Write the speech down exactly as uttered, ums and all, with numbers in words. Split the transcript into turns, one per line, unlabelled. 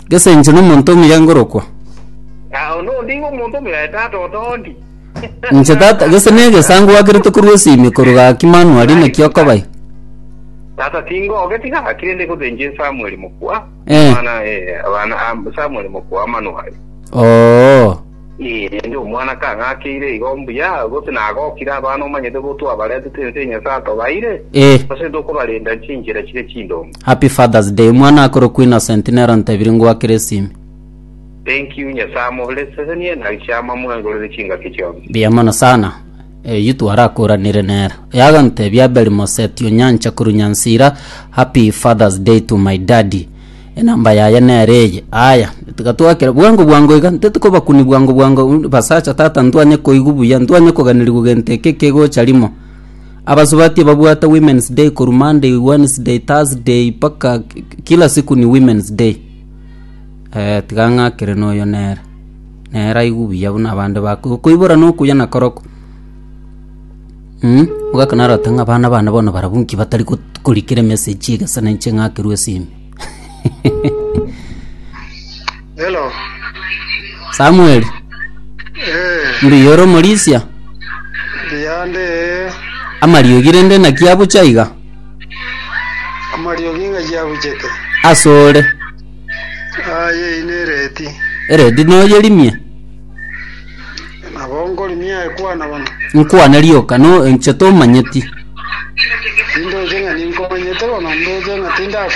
Gese inche nomonto omuya ngorokwa.
Ah, ono ndingo omonto omuya tata otondi.
Inche tata gese negesango wakerete korwa esimi korwa gaki manuari naki okobai.
Tata tingoge tigakire ndi gothenje Samuel mokwa.
Eh.
Mwana eh abana ah, Samuel mokwa manuari.
Oo.
Eh, ndi omwana kang'akeire igo mbuya gose nagokire abana omanyete gotwabaretete ense Nyasaye atobaire.
Eh.
Ase tokobarenda chinchera chire chindongo.
Happy Father's Day. Omwana akorokwa Innocent nero ntebire ngwakere esimi.
Thank you Nyasaye amoblessenie na chiama mwengorere chingaki chionsi.
Mbuya mono sana. Eyio twarakoranire nere. Yagantebia Abel Moseti Onyancha korwa Nyansira, Happy Father's Day to my daddy. Enamba yaye nere eye. Aya, tiga twakera bwango bwango iga, ntete kobakuni bwango bwango basacha tata ntwanye koigwa buya, ntwanye koganerigwa gento eke kegocha rimo. Abasubati babwate Women's Day korwa Monday, Wednesday, Thursday mpaka kila siku ni Women's Day. Eh, tiga ng'akere noyo nere. Nere aigwe buya buna abande bakoigwa. Koibora nokuya nakorokwo. Mm, ogaka narote ng'a abana bane bono barabwo nki batari got- korikera emessage egesa na inche ng'akerwe esimi.
Hello.
Samuel,
Eh,
mbuya ore omorisia?
mbuyande
Amariogi rende naki abucha iga?
amariogi ng'a yabuchete.
Ase ore.
Aye ine ereti.
Eredi noyerimie?
Nabo nkorimia ekwana bono.
Nkwane rioka no inche tomanyeti.
Tindoche ng'a ninkomanyete bono ndoche ng'a